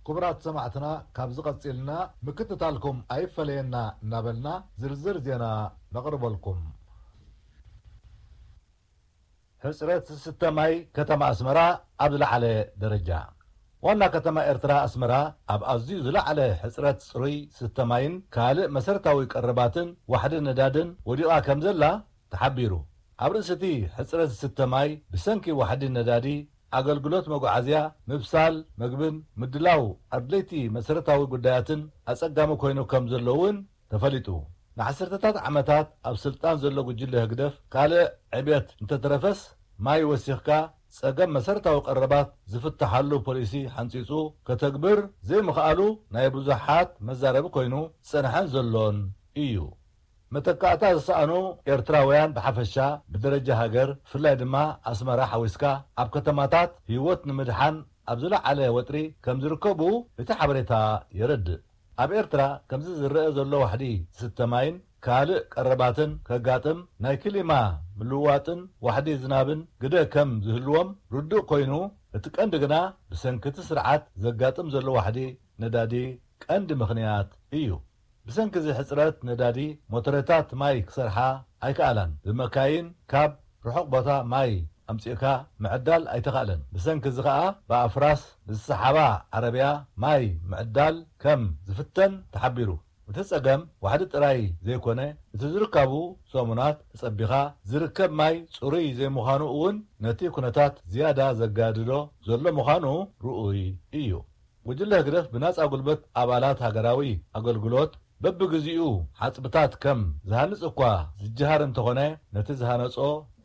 ክቡራት ሰማዕትና፣ ካብዚ ቀጺልና ምክትታልኩም ኣይፈለየና እናበልና ዝርዝር ዜና ነቕርበልኩም። ሕጽረት ዝስተ ማይ ከተማ ኣስመራ ኣብ ዝለዓለ ደረጃ። ዋና ከተማ ኤርትራ ኣስመራ ኣብ ኣዝዩ ዝለዓለ ሕጽረት ጽሩይ ዝስተ ማይን ካልእ መሰረታዊ ቀረባትን ዋሕዲ ነዳድን ወዲቓ ከም ዘላ ተሓቢሩ። ኣብ ርእሲ እቲ ሕጽረት ዝስተ ማይ ብሰንኪ ዋሕዲ ነዳዲ ኣገልግሎት መጓዓዝያ፣ ምብሳል መግብን ምድላው ኣድለይቲ መሰረታዊ ጉዳያትን ኣጸጋሚ ኮይኑ ከም ዘሎ እውን ተፈሊጡ። ንዓሰርተታት ዓመታት ኣብ ስልጣን ዘሎ ጉጅለ ህግደፍ ካልእ ዕብየት እንተተረፈስ ማይ ወሲኽካ ጸገም መሰረታዊ ቀረባት ዝፍትሓሉ ፖሊሲ ሓንጺጹ ከተግብር ዘይምኽኣሉ ናይ ብዙሓት መዛረቢ ኮይኑ ዝጸንሐን ዘሎን እዩ። መተካእታ ዝሰኣኑ ኤርትራውያን ብሓፈሻ ብደረጃ ሃገር፣ ብፍላይ ድማ ኣስመራ ሓዊስካ ኣብ ከተማታት ህይወት ንምድሓን ኣብ ዝለዓለ ወጥሪ ከም ዝርከቡ እቲ ሓበሬታ የረድእ። ኣብ ኤርትራ ከምዚ ዝረአ ዘሎ ዋሕዲ ዝስተ ማይን ካልእ ቀረባትን ከጋጥም ናይ ክሊማ ምልውዋጥን ዋሕዲ ዝናብን ግደ ከም ዝህልዎም ርዱእ ኮይኑ፣ እቲ ቀንዲ ግና ብሰንኪ እቲ ስርዓት ዘጋጥም ዘሎ ዋሕዲ ነዳዲ ቀንዲ ምኽንያት እዩ። ብሰንኪ እዚ ሕጽረት ነዳዲ ሞተረታት ማይ ክሰርሓ ኣይከኣላን። ብመካይን ካብ ርሑቕ ቦታ ማይ ኣምጺእካ ምዕዳል ኣይተኻእለን። ብሰንኪ እዚ ከኣ ብኣፍራስ ብዝሰሓባ ዓረብያ ማይ ምዕዳል ከም ዝፍተን ተሓቢሩ። እቲ ጸገም ዋሕዲ ጥራይ ዘይኮነ፣ እቲ ዝርካቡ ሰሙናት ተጸቢኻ ዝርከብ ማይ ጽሩይ ዘይምዃኑ እውን ነቲ ኩነታት ዝያዳ ዘጋድዶ ዘሎ ምዃኑ ርኡይ እዩ። ጉጅለ ህግደፍ ብናጻ ጉልበት ኣባላት ሃገራዊ ኣገልግሎት በብግዚኡ ሓጽብታት ከም ዝሃንጽ እኳ ዝጀሃር እንተኾነ፣ ነቲ ዝሃነጾ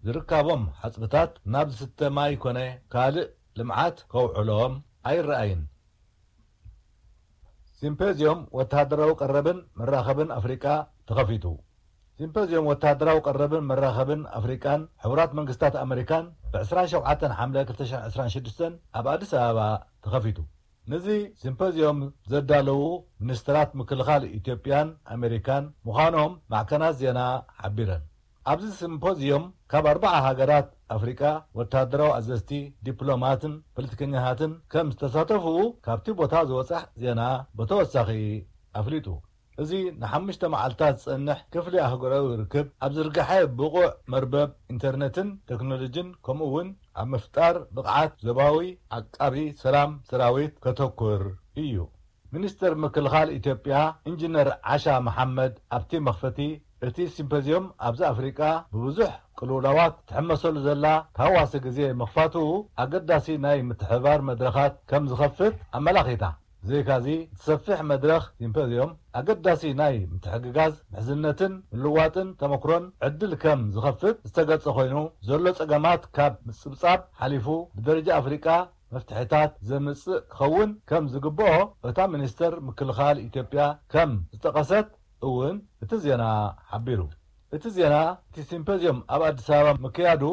ዝርካቦም ሓጽብታት ናብ ዝስተ ማይ ኮነ ካልእ ልምዓት ከውዕሎም ኣይረኣይን። ሲምፖዝዮም ወተሃደራዊ ቀረብን መራኸብን ኣፍሪቃ ተኸፊቱ። ሲምፖዝዮም ወተሃደራዊ ቀረብን መራኸብን ኣፍሪቃን ሕቡራት መንግስታት ኣመሪካን ብ ዕስራን ሸውዓተን ሓምለ ክልተ ሽሕን ዕስራን ሽዱሽተን ኣብ ኣዲስ ኣበባ ተኸፊቱ። ነዚ ሲምፖዝዮም ዘዳለዉ ሚኒስትራት ምክልኻል ኢትዮጵያን ኣሜሪካን ምዃኖም ማዕከናት ዜና ሓቢረን። ኣብዚ ሲምፖዝዮም ካብ ኣርባዓ ሃገራት ኣፍሪቃ ወተሃደራዊ ኣዘዝቲ፣ ዲፕሎማትን ፖለቲከኛታትን ከም ዝተሳተፉ ካብቲ ቦታ ዝወጸ ዜና ብተወሳኺ ኣፍሊጡ። እዚ ንሓሙሽተ መዓልታት ዝጸንሕ ክፍሊ ኣህጉራዊ ርክብ ኣብ ዝርግሐ ብቑዕ መርበብ ኢንተርነትን ቴክኖሎጂን ከምኡ እውን ኣብ ምፍጣር ብቕዓት ዞባዊ ዓቃቢ ሰላም ሰራዊት ከተኩር እዩ። ሚኒስትር ምክልኻል ኢትዮጵያ ኢንጂነር ዓሻ መሓመድ ኣብቲ መኽፈቲ፣ እቲ ሲምፖዝዮም ኣብዚ ኣፍሪቃ ብብዙሕ ቅልውላዋት ትሕመሰሉ ዘላ ተሃዋሲ ግዜ ምኽፋቱ ኣገዳሲ ናይ ምትሕብባር መድረኻት ከም ዝኸፍት ኣመላኺታ። ብዘይካዚ፣ እቲ ሰፊሕ መድረኽ ሲምፖዝዮም ኣገዳሲ ናይ ምትሕግጋዝ፣ ምሕዝነትን ምልዋጥን ተመክሮን ዕድል ከም ዝኸፍት ዝተገልጸ ኮይኑ፣ ዘሎ ጸገማት ካብ ምጽብጻብ ሓሊፉ ብደረጃ ኣፍሪቃ መፍትሒታት ዘምጽእ ክኸውን ከም ዝግብኦ እታ ሚኒስተር ምክልኻል ኢትዮጵያ ከም ዝጠቐሰት እውን እቲ ዜና ሓቢሩ። እቲ ዜና፣ እቲ ሲምፖዝዮም ኣብ ኣዲስ ኣበባ ምክያዱ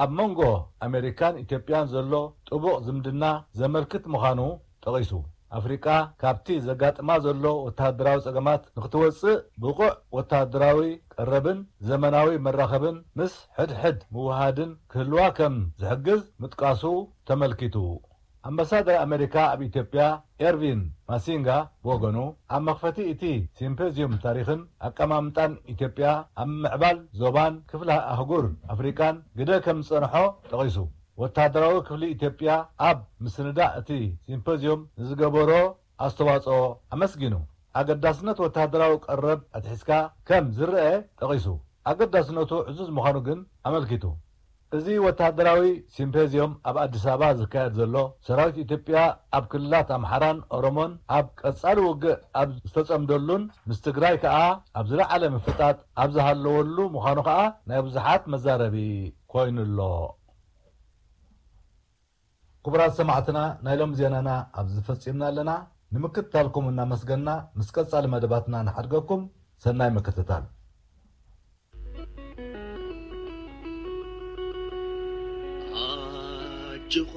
ኣብ መንጎ ኣሜሪካን ኢትዮጵያን ዘሎ ጥቡቕ ዝምድና ዘመልክት ምዃኑ ጠቒሱ። ኣፍሪቃ ካብቲ ዘጋጥማ ዘሎ ወተሃደራዊ ጸገማት ንክትወጽእ ብቑዕ ወተሃደራዊ ቀረብን ዘመናዊ መራኸብን ምስ ሕድሕድ ምውሃድን ክህልዋ ከም ዝሕግዝ ምጥቃሱ ተመልኪቱ። ኣምባሳደር ኣሜሪካ ኣብ ኢትዮጵያ ኤርቪን ማሲንጋ ብወገኑ፣ ኣብ መኽፈቲ እቲ ሲምፖዝዩም ታሪኽን ኣቀማምጣን ኢትዮጵያ ኣብ ምምዕባል ዞባን ክፍለ ኣህጉር ኣፍሪቃን ግደ ከም ዝጸንሖ ጠቒሱ። ወተሃደራዊ ክፍሊ ኢትዮጵያ ኣብ ምስንዳእ እቲ ሲምፖዝዩም ንዝገበሮ ኣስተዋጽኦ ኣመስጊኑ። ኣገዳስነት ወተሃደራዊ ቀረብ ኣትሒዝካ ከም ዝረአ ጠቒሱ፣ ኣገዳስነቱ ዕዙዝ ምዃኑ ግን ኣመልኪቱ። እዚ ወተሃደራዊ ሲምፖዝዩም ኣብ ኣዲስ ኣበባ ዝካየድ ዘሎ፣ ሰራዊት ኢትዮጵያ ኣብ ክልላት ኣምሓራን ኦሮሞን ኣብ ቀጻሊ ውግእ ኣብ ዝተጸምደሉን ምስ ትግራይ ከኣ ኣብ ዝለዓለ ምፍጣጥ ኣብ ዝሃለወሉ ምዃኑ ከኣ ናይ ብዙሓት መዛረቢ ኮይኑ ኣሎ። ክቡራት ሰማዕትና፣ ናይ ሎም ዜናና ኣብዚ ፈጺምና ኣለና። ንምክትታልኩም እናመስገንና፣ ምስ ቀጻሊ መደባትና ንሓድገኩም። ሰናይ ምክትታል። ኣጆኻ